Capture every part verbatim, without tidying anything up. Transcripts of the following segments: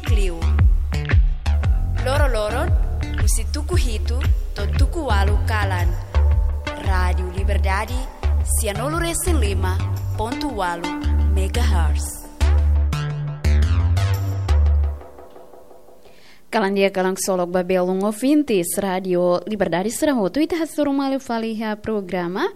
Klio. Loro-loron, husi tuku hitu to'o tuku ualu kalan. Rádiu Liberdade, sianulu-resin-lima pontu ualu megahertz. Kalan di'ak, kalan ksolok ba belun ouvintes Rádiu Liberdade sira hotu, ita hasoru malu fali iha programa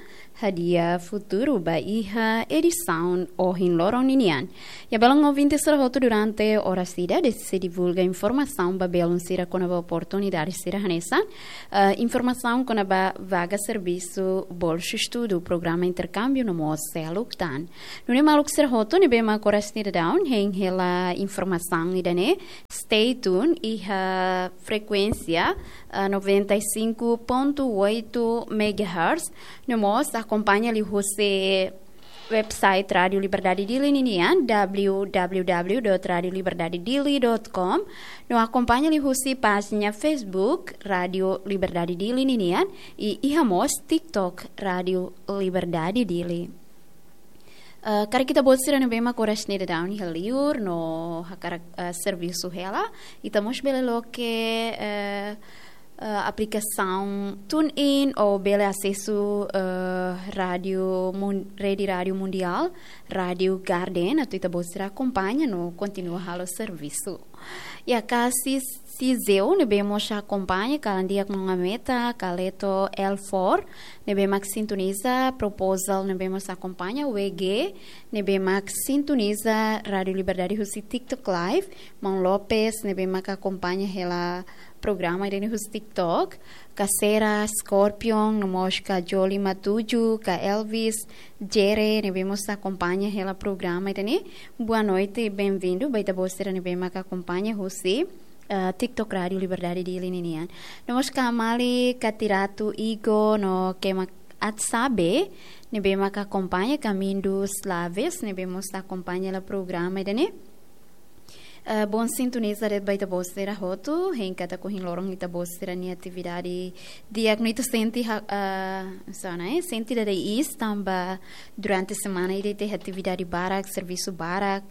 Hadi'a Futuru ba iha edisaun ohin loron ninian. Ya, belun ouvintes sira hotu, durante oras ida, deside divulga informasaun ba belun sira kona-ba oportunidade sira hanesan, eh, informasaun kona-ba vaga servisu, bolsa estudu, programa interkámbiu no mós seluk tan. Nune'e maluk sira hotu ne'ebé mak oras ne'e daudaun hein hela informasaun ida-ne'e, stay tuned iha frekuénsia, eh, noventa e cinco ponto oito megahertz, no mós akompaña liuhusi website Rádiu Liberdade Dili ninian, w w w dot rádiu liberdade dili dot com, no akompaña liuhusi pájina Facebook Rádiu Liberdade Dili ninian, i iha mós TikTok Rádiu Liberdade Dili. Eh, karik ita-boot sira ne'ebé mak oras ne'e daudaun iha liur no hakarak, eh, servisu hela, ita mós bele loke, eh, eh, aplikasaun TuneIn ou bele asesu, eh, rádiu mun-, rede rádiu mundiál, Rádiu Garden, atu ita-boot sira akompaña no kontinua halo servisu. Ya, ka si-, Siseu ne'ebé mós akompaña, kalan di'ak maun Ameta, Kaleto, Elfor ne'ebé mak sintoniza, Proposal ne'ebé mós akompaña, W G ne'ebé mak sintoniza Rádiu Liberdade husi TikTok Live, maun Lopes ne'ebé mak akompaña hela programa ida-ne'e husi TikTok, Kasera, Scorpion, no mós ka Joli Matuju, ka Elvis, Jere ne'ebé mós akompaña hela programa ida-ne'e. Boa noite, bem-vindo ba ita-boot sira ne'ebé mak akompaña husi, eh, TikTok Rádiu Liberdade Dili ninian. No mós ka Mali, ka Tiratu Igo, no Kema Atsabe ne'ebé mak akompaña, ka Mindu Slaves ne'ebé mós akompaña hela programa ida-ne'e. Eh, bom sintoniza de'it ba ita-boot sira hotu, hein katak ohin loron ita-boot sira-nia atividade di'ak no ita sente ha-, eh, so, ne'e, sente dada iis tanba durante semana ida ita iha atividade barak, servisu barak.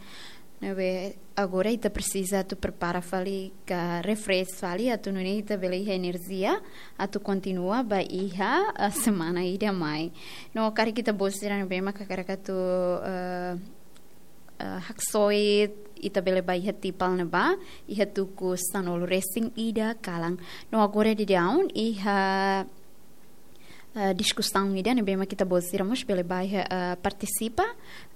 Ne'ebé agora ita presiza atu prepara fali ka refresh fali atu nune'e ita bele iha enerjia atu kontinua ba iha, eh, semana ida mai. No karik ita-boot sira ne'ebé mak hakarak atu, eh, eh, haksoit, ita bele ba iha Tipal ne'ebá, iha tuku sanulu-resin-ida kalan. No agora daudaun, iha, eh, diskusaun ida ne'ebé mak ita-boot sira mós bele ba iha, eh, partisipa,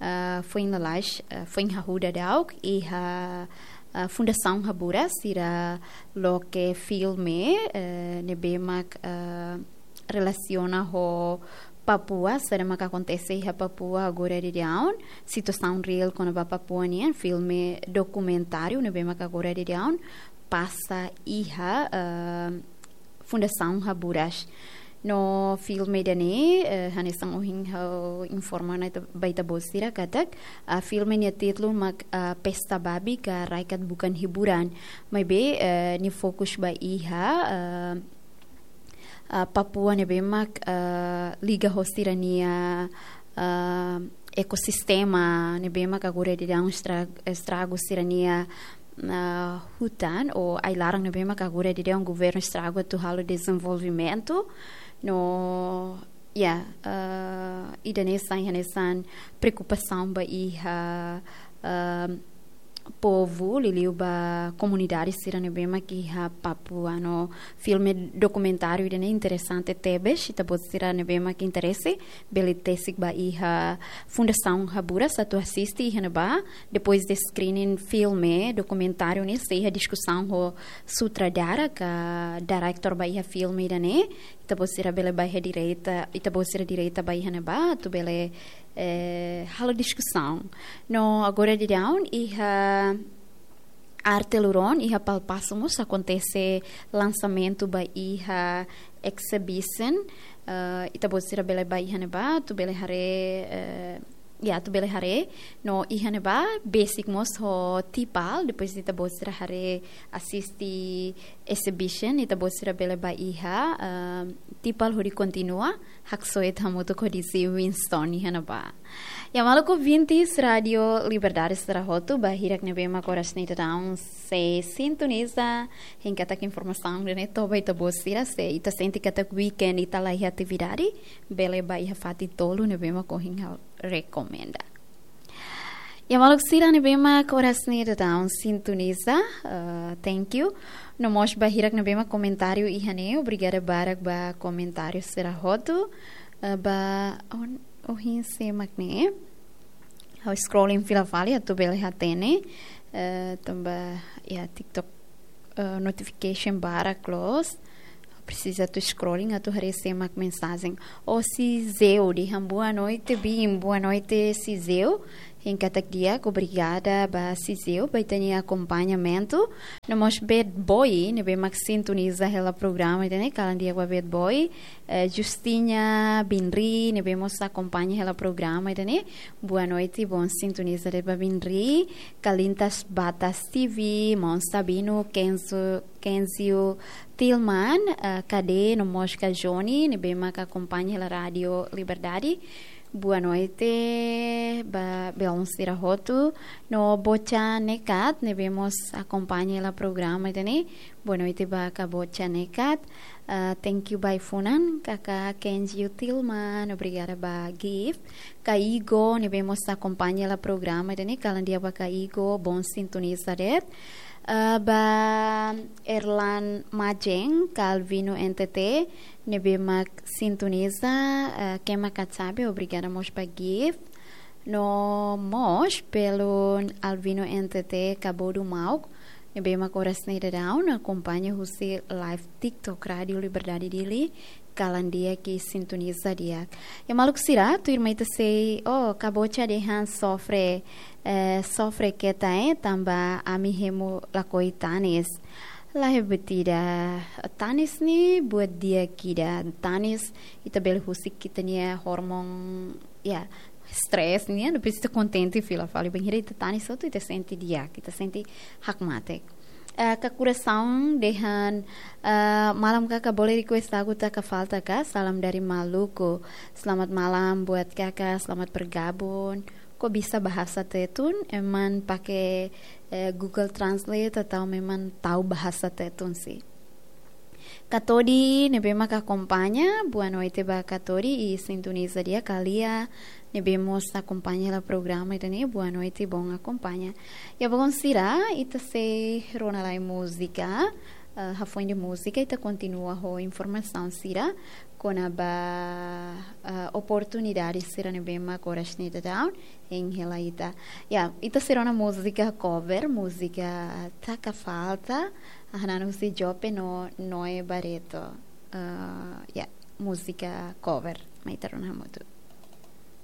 eh, foin lalais, eh, foin hahú daudauk, iha, eh, Fundasaun Haburas, sira loke filme, eh, ne'ebé mak, eh, relasiona ho Papua, saida mak akontese iha Papua agora daudaun, situasaun reál kona-ba Papua nian, filme dokumentáriu ne'ebé mak agora daudaun pasa iha, eh, Fundasaun Haburas. No filme ida-ne'e, eh, hanesan ohin ha'u informa ona ita, ba ita-boot sira katak, ah, filme nia títulu mak, ah, Pesta Babi ka Raikat Bukan Hiburan. Maibé, eh, nia fokus ba iha, eh, ah, Papua ne'ebé mak, ah, liga ho sira-nia, ah, ekosistema ne'ebé mak agora daudaun estra-, estragu sira-nia, ah, hutan ou ai-laran ne'ebé mak agora daudaun governu estragu atu halo dezenvolvimentu. No, ya, ah, ida-ne'e sai hanesan preokupasaun ba iha, ah, povu, liuliu ba komunidade sira ne'ebé mak iha Papua. No filme dokumentáriu ida-ne'e interesante tebes, ita-boot sira ne'ebé mak interese, bele tesik ba iha Fundasaun Haburas atu asiste iha ne'ebá, depois de screening filme dokumentáriu ne'e, sei iha diskusaun ho sutradara ka director ba iha filme ida-ne'e, ita-boot sira bele ba iha direta, ita-boot sira direta ba iha ne'ebá, atu bele, eh, halo diskusaun. No agora daudaun, iha Arte Luron, iha Palpaso mós akontese lansamentu ba iha exhibition, eh, ita-boot sira bele ba iha ne'ebá, atu bele haree, eh, ya, atu bele haree, no iha ne'ebá besik mós ho Tipal, depois ita-boot sira haree asiste exhibition, ita-boot sira bele ba iha, eh, Tipal hodi kontinua haksoit hamutuk ho D J Winston iha ne'ebá. Ya, maluk ouvintes Rádio Liberdade sira hotu, ba hirak ne'ebé mak oras ne'e daudaun sei sintoniza, hein katak informasaun ne'e toba ita-boot sira, se ita sente katak weekend ita la iha atividade, bele ba iha fatin tolu ne'ebé mak ohin ha'u rekomenda. Ya, maluk sira ne'ebé mak oras ne'e daudaun sintoniza, eh, thank you. No mós ba hirak ne'ebé mak komentáriu iha ne'e, obrigada barak ba komentáriu sira hotu. Eh, ba on, ohin sé mak ne'e. Ha'u scrolling fila fali atu bele hatene. Eh, tanba, ya, TikTok, eh, notification barak loos. Presiza atu scrolling atu haree sé mak mensajen. O Sizeu dehan boa noite, Bim. Boa noite, Sizeu. Hein katak di'ak, obrigada ba Sizeu ba ita-nia akompañamentu. No mós Bad Boy, ne'ebé mak sintoniza hela programa ida-ne'e, kalan di'ak ba Bad Boy. Eh, Justina Binri, ne'ebé mós akompaña hela programa ida-ne'e. Boa noite, bom sintoniza de'it ba Binri. Kalintas Batas T V, Mon Sabino, Kenzo, Kenzio Tilman, eh, Kade, no mós Kajoni, ne'ebé mak akompaña hela Rádio Liberdade. Boa noite ba belun sira hotu. No Bocha Nekat, ne'ebé mós akompaña hela programa ida-ne'e. Boa noite ba kaka Bocha Nekat. Ah, thank you ba ai-funan, kaka Kenji Utilman, obrigada ba gift. Kaka Igo, ne'ebé mós akompaña hela programa ida-ne'e, kalan di'ak ba kaka Igo, bom sintoniza de'it. Ah, ba Erlan Majeng, Calvino N T T, ne'ebé mak sintoniza, ah, kema kachabe, obrigada mós ba gift. No mós belun Alvino N T T Kabodu Mauk, ne'ebé mak oras ne'e daudaun akompaña husi live TikTok Rádio Liberdade Dili, kalan di'ak i sintoniza di'ak. Ya, maluk sira, tuirmai ita sei, oh, kaka Bocha dehan sofre, eh, sofre keta, eh, tanba ami hemu lakohi tanis. Lae, buat ida, tanis ne'e buat di'ak ida, tanis ita bele husik ita-nia hormon, ya, stress ne'e, no presiza kontente fila fali. Bainhira ita tanis hotu, ita sente di'ak, ita sente hakmatek. Eh, kaka Kurasaun dehan, eh, malam kaka, bole request lagu Taka Falta ka, Salam dari Maluku. Selamat malam buat kaka, selamat bergabung. Kok bisa bahasa Tetun? Ema mak pake, eh, Google Translate atau memang tahu bahasa Tetun sih? Kaka Todi, ne'ebé mak akompaña, boa noite ba kaka Todi i sintoniza di'ak. Kaka Lia, ne'ebé mós akompaña hela programa ida-ne'e, boa noite, bom akompaña. Ya, belun sira, ita sei rona lai múzika, eh, hafoin de múzika, ita kontinua ho informasaun sira kona-ba, eh, oportunidade sira ne'ebé mak oras ne'e daudaun hein hela ita. Ya, ita sei rona múzika cover, múzika Taka Falta, ah, hanan husi Jope no Noe Barreto. Eh, ya, múzika cover, mai ita rona hamutuk.